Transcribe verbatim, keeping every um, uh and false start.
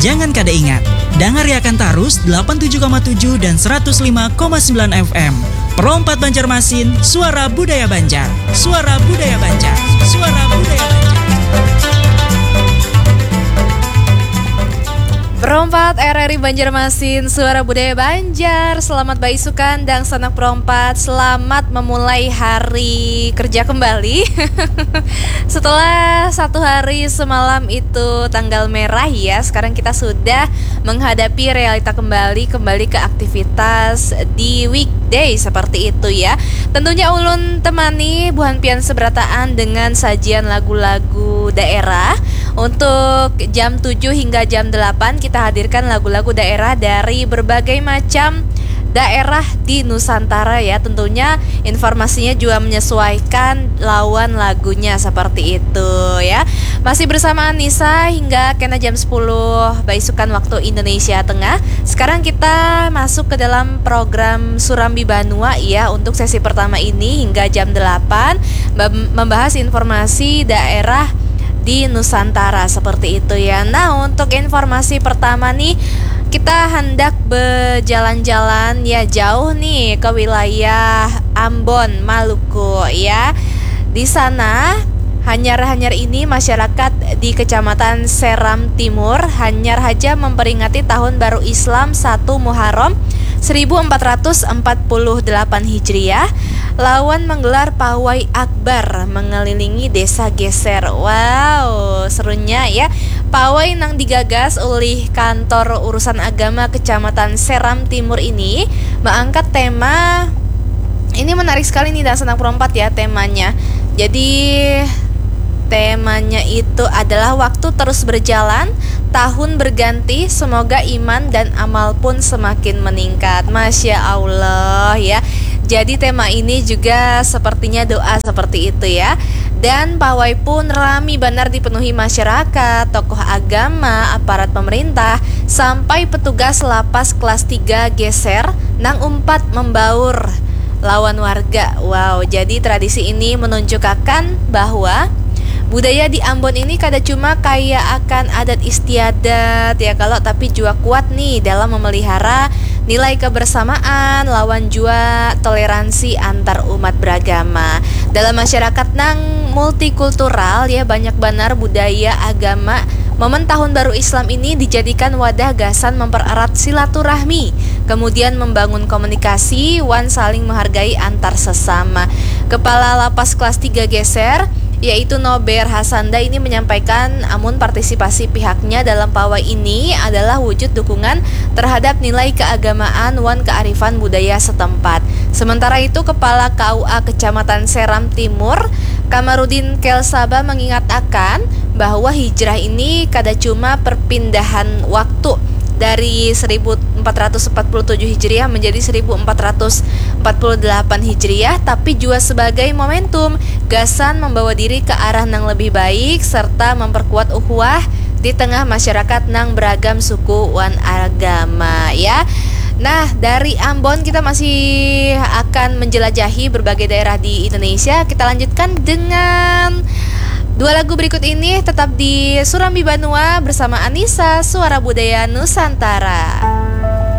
Jangan kada ingat, dangariakan tarus delapan tujuh koma tujuh dan seratus lima koma sembilan F M. Pro empat Banjarmasin, suara budaya Banjar. Suara budaya Banjar. Suara budaya Banjar. Pro empat R R I Banjarmasin, suara budaya Banjar. Selamat baisukan dangsanak Pro empat. Selamat memulai hari kerja kembali. Setelah satu hari semalam itu tanggal merah ya, sekarang kita sudah menghadapi realita kembali, kembali ke aktivitas di weekday seperti itu ya. Tentunya ulun temani buhan pian seberataan dengan sajian lagu-lagu daerah. Untuk jam tujuh hingga jam delapan kita hadirkan lagu-lagu daerah dari berbagai macam daerah di Nusantara ya. Tentunya informasinya juga menyesuaikan lawan lagunya seperti itu ya. Masih bersama Anissa hingga kena jam sepuluh baisukan waktu Indonesia Tengah. Sekarang kita masuk ke dalam program Surambi Banua ya, untuk sesi pertama ini hingga jam delapan mem- membahas informasi daerah di Nusantara seperti itu ya. Nah, untuk informasi pertama nih, kita hendak berjalan-jalan ya jauh nih ke wilayah Ambon, Maluku ya. Di sana, hanyar-hanyar ini masyarakat di Kecamatan Seram Timur hanyar haja memperingati tahun baru Islam satu Muharram seribu empat ratus empat puluh delapan Hijriah lawan menggelar pawai akbar mengelilingi Desa Geser. Wow, serunya ya. Pawai nang digagas ulih Kantor Urusan Agama Kecamatan Seram Timur ini mengangkat tema, ini menarik sekali nih, dangsanak Pro empat ya temanya. Jadi temanya itu adalah waktu terus berjalan, tahun berganti, semoga iman dan amal pun semakin meningkat. Masya Allah ya. Jadi tema ini juga sepertinya doa seperti itu ya. Dan pawai pun rami banar dipenuhi masyarakat, tokoh agama, aparat pemerintah, sampai petugas lapas kelas tiga Geser nang umpat membaur lawan warga. Wow, jadi tradisi ini menunjukakan bahwa budaya di Ambon ini kada cuma kaya akan adat istiadat ya kalo, tapi jua kuat nih dalam memelihara nilai kebersamaan lawan jua toleransi antar umat beragama. Dalam masyarakat nang multikultural ya, banyak banar budaya, agama. Momen tahun baru Islam ini dijadikan wadah gasan mempererat silaturahmi, kemudian membangun komunikasi wan saling menghargai antar sesama. Kepala Lapas Kelas tiga Geser, yaitu Nober Hasanda ini menyampaikan amun partisipasi pihaknya dalam pawai ini adalah wujud dukungan terhadap nilai keagamaan wan kearifan budaya setempat. Sementara itu, Kepala K U A Kecamatan Seram Timur, Kamarudin Kelsaba mengingatakan bahwa hijrah ini kada cuma perpindahan waktu dari seribu empat ratus empat puluh tujuh Hijriah menjadi seribu empat ratus empat puluh delapan Hijriah, tapi juga sebagai momentum gasan membawa diri ke arah nang lebih baik serta memperkuat ukhuwah di tengah masyarakat nang beragam suku wan agama ya. Nah, dari Ambon kita masih akan menjelajahi berbagai daerah di Indonesia. Kita lanjutkan dengan dua lagu berikut ini, tetap di Surambi Banua bersama Anissa, Suara Budaya Nusantara.